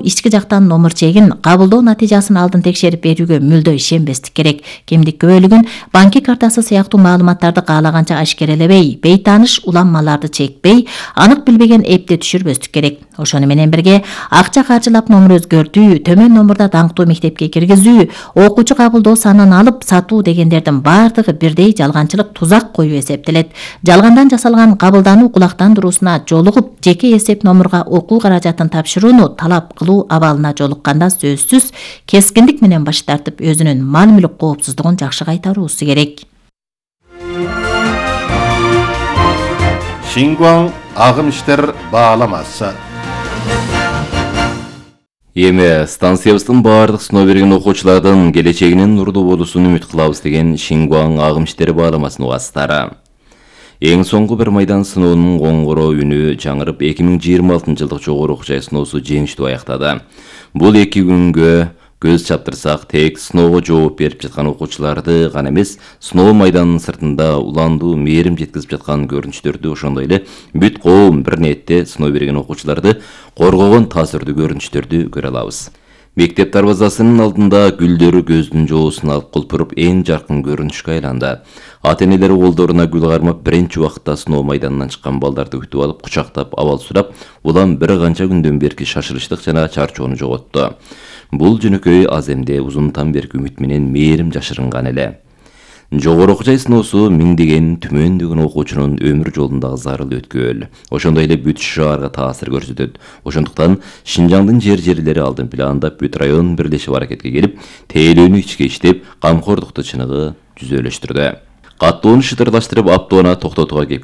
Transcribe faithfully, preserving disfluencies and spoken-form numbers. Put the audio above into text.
ички жактан номер чегин кабылдоо натыйжасын алдын текшерип берүүгө мүлдө ишенбестик керек. Кимдик күбөлүгүн, банки картасы сыяктуу маалыматтарды каалаганча ашкерелебей, бейтааныш уланмаларды чекпей, анык билбеген эпти түшүрбөстүк керек. Ошону менен бирге акча каржылап номер өзгөртүү, төмөн номерда даңктуу мектепке киргизүү, окуучу кабылдоо санын алып сатуу дегендердин баардыгы бирдей жалганчылык, тузак коюу эсептелет. Жалгандан жасалган кабылдануу кулактандыруусуна жолугуп, жеке эсеп номерга окуу каражатын тапшырууну талап кылуу абалына жолукканда сөзсүз кескиндик менен баш тартып, өзүнүн мал мүлк коопсуздугун жакшы кайтаруусу керек. Шингуан агым иштер бааламасы. Эми станциябыздын баардык сыноо берген окуучулардын келечегинин нурдуу болуусун үмүт кылабыз деген Шингуан агым иштери бааламасынын угаттары. Эң соңку бир майдан сыноонун коңгуроо үнү жаңырып эки миң жыйырма алтынчы жылдык жогору окуу жай сыноосу жеңиштүү аяктады. Бул эки күнгө көз чаптырсак, тек сыноого жооп берип жаткан окуучуларды гана эмес, сыноо майданынын сыртында уландуу мээрим жеткизип жаткан көрүнүштөрдү, ошондой эле бүт коом бир ниетте сыноо берген окуучуларды коргогон таасирдүү көрүнүштөрдү көрө алабыз. Мектеп дарбазасынын алдында гүлдөрү көздүн жоосун алып кулпуруп эң жаркын көрүнүшкө айланды. Ата-энелер колдоруна гүл кармап биринчи убакытта сыноо майданынан чыккан балдарды күтүп алып, кучактап, абал сурап, улам бир канча күндөн берки шашылыштык жана чарчоону жоготту. Бул жөнөкөй аз эмде узунтан берки үмүт менен мээрим жашырынган эле. Жогору окуу жай сыноосу миңдеген түмөндөгөн окуучунун өмүр жолундагы зарыл өткөл. Ошондой эле бүт шаарга таасир көрсөтөт. Ошондуктан Шинжаңдын жер-жерлери алдын пландап, бүт район бирлешип аракетке келип, тейлөөнү ичке иштеп, камкордукту чыныгы жүзөлөштүрдү. Каттоону шытырлаштырып, аптоона токтотууга кепил